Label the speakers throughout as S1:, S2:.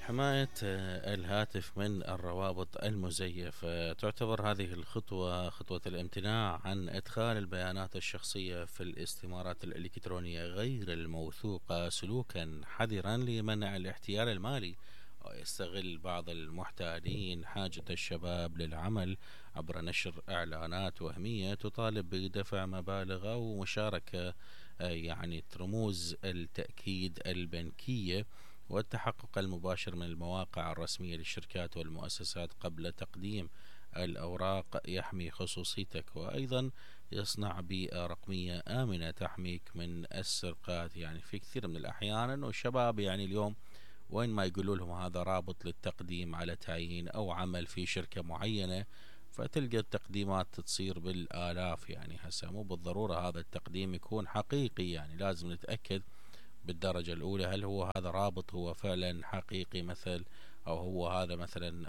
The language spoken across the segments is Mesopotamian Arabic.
S1: حماية الهاتف من الروابط المزيفة. تعتبر هذه الخطوة خطوة الامتناع عن إدخال البيانات الشخصية في الاستمارات الإلكترونية غير الموثوقة سلوكا حذرا لمنع الاحتيال المالي. يستغل بعض المحتالين حاجة الشباب للعمل عبر نشر إعلانات وهمية تطالب بدفع مبالغ أو مشاركة رموز التأكيد البنكية والتحقق المباشر من المواقع الرسمية للشركات والمؤسسات قبل تقديم الأوراق يحمي خصوصيتك، وأيضا يصنع بيئة رقمية آمنة تحميك من السرقات. في كثير من الأحيان أنه الشباب اليوم وين ما يقولوا لهم هذا رابط للتقديم على تعيين أو عمل في شركة معينة، فتلقى التقديمات تصير بالآلاف. هسه مو بالضرورة هذا التقديم يكون حقيقي، لازم نتأكد بالدرجة الأولى هل هو هذا رابط هو فعلا حقيقي مثل، أو هو هذا مثلا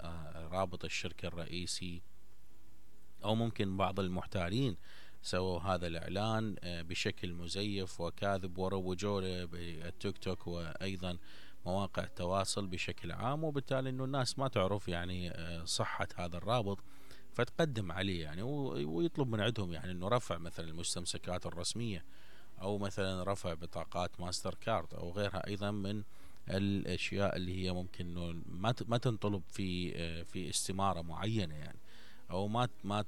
S1: رابط الشركة الرئيسي، أو ممكن بعض المحتالين سووا هذا الإعلان بشكل مزيف وكاذب وروجوا له بالتيك توك وأيضا مواقع التواصل بشكل عام، وبالتالي أنه الناس ما تعرف صحة هذا الرابط فتقدم عليه ويطلب من عندهم أنه رفع مثلا المستمسكات الرسمية، أو مثلا رفع بطاقات ماستر كارد أو غيرها أيضا من الأشياء اللي هي ممكن ما تنطلب في استمارة معينة، أو ما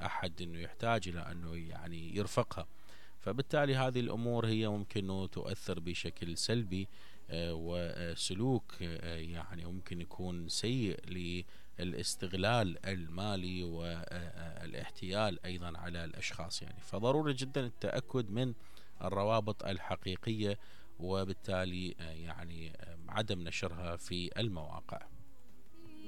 S1: أحد إنه يحتاج إلى إنه يرفقها. فبالتالي هذه الأمور هي ممكن تؤثر بشكل سلبي، وسلوك ممكن يكون سيء للاستغلال المالي والاحتيال أيضا على الأشخاص. فضروري جدا التأكد من الروابط الحقيقية، وبالتالي عدم نشرها في المواقع.